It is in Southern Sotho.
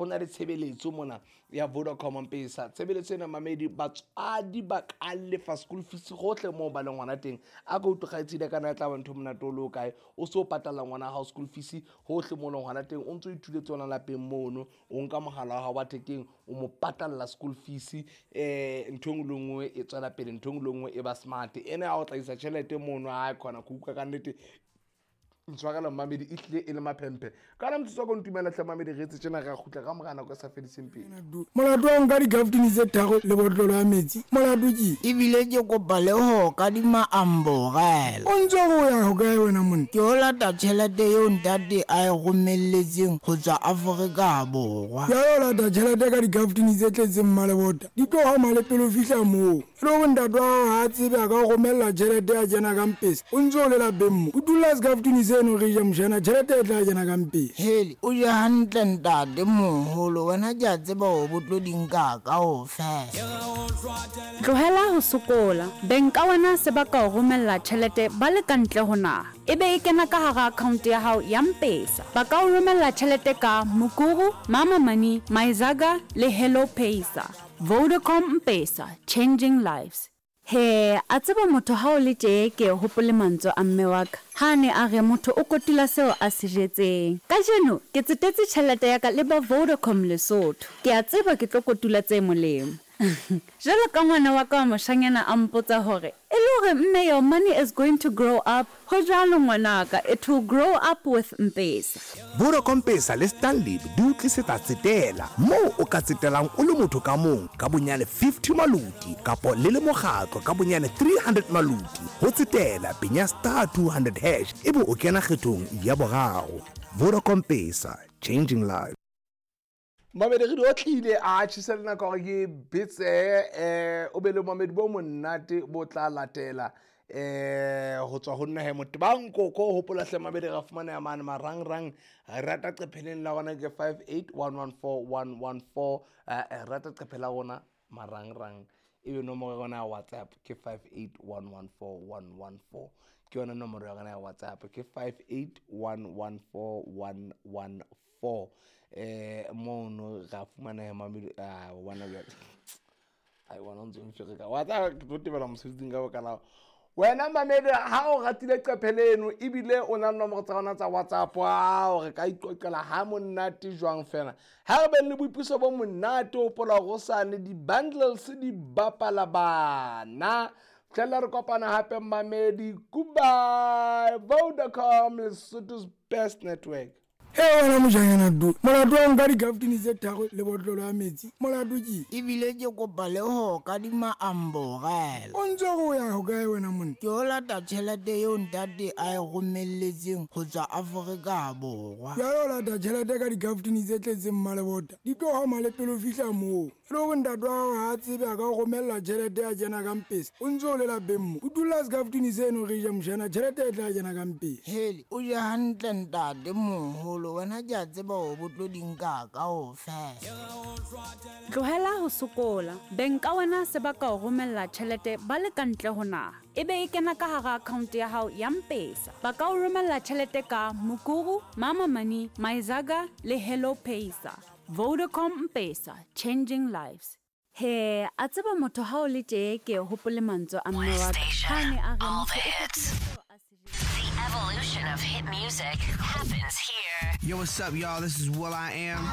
Ho na le tshebeletso mona ya Vodacom Mpesa. Tshebeletso ena mamedi batswadi ba ka lefa school fees gohle moo ba leng gona teng. A ka utlwe kgaitsedi ka na e tla ba ntho e monate o le o kae. O se o patalla ngwana hao school fees hohle moo leng gona teng. O ntso ithuletse ona lapeng mono. O nka mohala wa hao wa thekeng o mo patalla school fees. Ntho e nngwe le nngwe e tswela pele, ntho e nngwe le nngwe e ba smart. Ena ya ho tlaisa tjhelete mono ha khona ke utlwa ka nnete ntshwarela mmamedi e hlile e le maphemphe ka ona motsotso wa ko ntumela hle mamedi re etse tjena re a kgutla ka mora nako e sa fediseng pelo. Molato wa nka dikaftini tse tharo le botlolo ya metsi molato ke Ebile ke kopa le ho kadima amborela. O ntse o re o ya hokae wena monna? Ke o lata tjhelete eo ntate a e romelletseng ho tswa Afrika Borwa. Jwale o lata tjhelete ka dikaftini tse tletseng mmalebota di tlo homa le pele o fihla moo. E le hore ntate wa hao ha a tsebe a ka o romella tjhelete ya kena ka mpesa o ntse o le lapeng mo. O dulla sekaftini seno re ja mojana tjhelete e tla kena ka mpesa. Hele, o je hantle ntate moholo wena ke a tseba hore bo tlo di nka kaofela. Tlohela ho sokola. Beng ka wena se ba ka o romella tjhelete ba le ka ntle ho naha. E be e kena ka hara account ya hao ya Mpesa. Ba ka o romella tjhelete ka Mukuru, Mama Money, Myzaga le Hello Paisa. Vodacom Mpesa, changing lives. Hee, a tseba motho ha o le tjee ke hopole mantswe a mme wa ka ha a ne a re motho o kotula seo a se jetseng. Kajeno ke tsetetse tjhelete ya ka le ba Vodacom Lesotho. Ke a tseba ke tlo kotula tse molemo. Jwalo ka ngwana wa ka wa moshanyana a mpotsa hore e le hore mme your money is going to grow up, ho jwalo ngwanaka, it will grow up with Mpesa. Vodacom Mpesa le Stanlib di o tlisetsa Tsetela, moo o ka tsetelang o le motho ka mong ka bonyane 50 maluti kapo le le mokgatlo ka bonyane 300 maluti. Ho tsetela, penya star 200 hash ebe o kena kgethong ya boraro. Vodacom Mpesa, changing lives. Mamedi re di otlile a tjhisa le nako hore ke betse o be le mamedi bo monate bo tla latela ho tswa ho nna he Motebang Koko. Hopola hle mamedi ra fumaneha mane marangrang rata qepheleng la rona ke 58114114 rata qephe la rona marangrang ebe nomoro ya rona ya WhatsApp ke 58114114 ke yona nomoro ya rona ya WhatsApp ke 58114114 mono ra fumaneha mamedi a bona jwale ai bona o ntse o mfereka wa tla ke tlo tebela mosebetsing ka baka la wena mamedi ha o ratile qephe leno ebile o na le nomoro tsa rona tsa WhatsApp ao re ka iqoqela ha monate jwang fela ha re beng le boipuso bo monate. Hopola hore o sane di-bundles di bapala bana fitlhella re kopana hape mamedi. Goodbye. Vodacom, Lesotho's best network. He wena mojanyana du molato wa nka dikaftini tse tharo le botlolo ya metsi molato ke Ebile ke kopa le ho kadima amborela. O ntse o re o ya hokae wena monna? Ke o lata tjhelete eo ntate a e romelletseng ho tswa Afrika Borwa. Jwale o lata tjhelete ka dikaftini tse tletseng mmalebota di tlo homa le pele o fihla moo. E le hore ntate wa hao ha a tsebe a ka o romella tjhelete ya kena ka mpesa o ntse o le lapeng mo. O dulla sekaftini seno re ja mojana tjhelete e tla kena ka mpesa. Hele, o je hantle ntate moholo wena ke a tseba hore bo tlo di nka kaofela. Tlohela ho sokola. Beng ka wena se ba ka o romella tjhelete ba le ka ntle ho naha. E be e kena ka hara account ya hao ya Mpesa. Ba ka o romella tjhelete ka Mukuru, Mama Money, Myzaga le Hello Paisa. Vodacom Mpesa, changing lives. He, a tseba motho ha o le tjee ke hopole mantswe a mme wa ka ha a ne a re All motho the o hits. kotula seo a se jetseng. The evolution of hit music happens here. Yo, what's up, y'all? This is Will I Am.